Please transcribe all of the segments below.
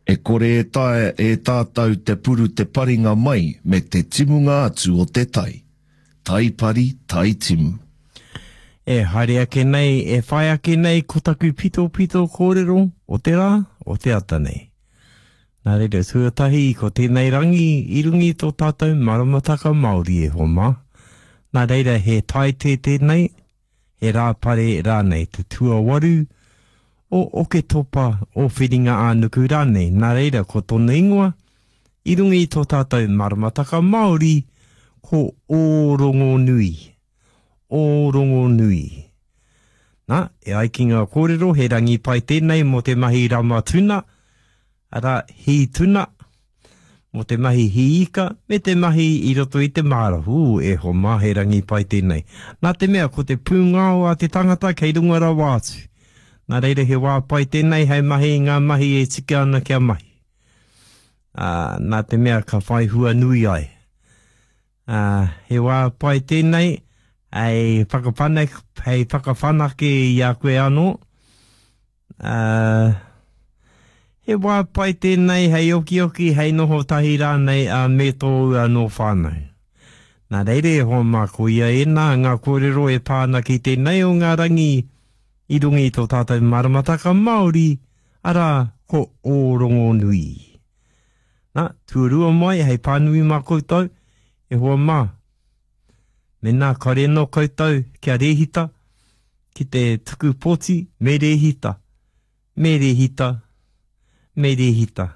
E kore e taea e tātou te puru te paringa mai me te timunga atu o te tai. Tai pari, tai timu. E haere ake nei, e whai ake nei ko taku pitopito kōrero o te rā, o te ata nei. Nā reira, tuatahi ko tēnei rangi i runga i tō tātou maramataka Māori e hoa mā. Nā reira he taite tēnei, he rāpare rānei, te tuawaru o Oketopa, o Whiringa-ā-nuku rānei. Nā reira, ko tōna ingoa, i runga i tō tātou maramataka Māori, ko Ōrongonui. Ōrongonui. Nā, e ai ki ngā kōrero, he rangi pai tēnei mō te mahi rama tuna, arā, hī tuna, mō te mahi hī ika, me te mahi i roto i te māra. Hū, e hoa mā, he rangi pai tēnei. Nā te mea, ko te pūngao a te tangata kei runga rawa atu. Nā reira he wā pai tēnei hei mahi i ngā mahi e tika ana kia mahi. Ā, nā te mea ka whai hua nui ai. Ā, he wā pai tēnei hei whakawhanake, hei whakawhanake i a koe anō. Ā, he wā pai tēnei hei okioki, hei noho tahi rānei ā, me tōu anō whānau. Nā reira e hoa mā, koia ēnā ngā kōrero e pā ana ki tēnei o ngā rangi i runga i tō tātou maramataka Māori, arā, ko Ōrongonui. Nā, tuarua mai hei pānui mā koutou, e hoa mā. Mēnā kare anō koutou kia rēhita ki te tuku pōti, me rēhita, me rēhita, me rēhita.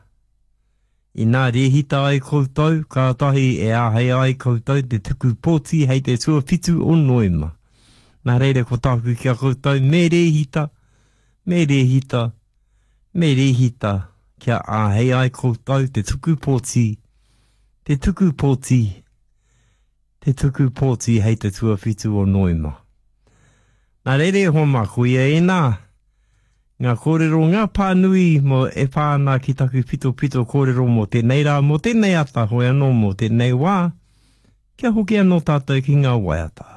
Inā rēhita ai koutou, kātahi e āhei ai koutou te tuku pōti hei te tuawhitu o Noema. Nā reira ko tāku ki a koutou, me rēhita, me rēhita, Me rēhita kia āhei ai koutou te tuku pōti, te tuku pōti, te tuku pōti hei te tuawhitu o Noema. Nā reira e hoa mā, koia ēnā, ngā kōrero, ngā pānui mō e pā ana ki taku pitopito kōrero mō tēnei rā, mō tēnei ata, hoi anō mō tēnei wā, kia hoki anō tātou ki ngā waiata.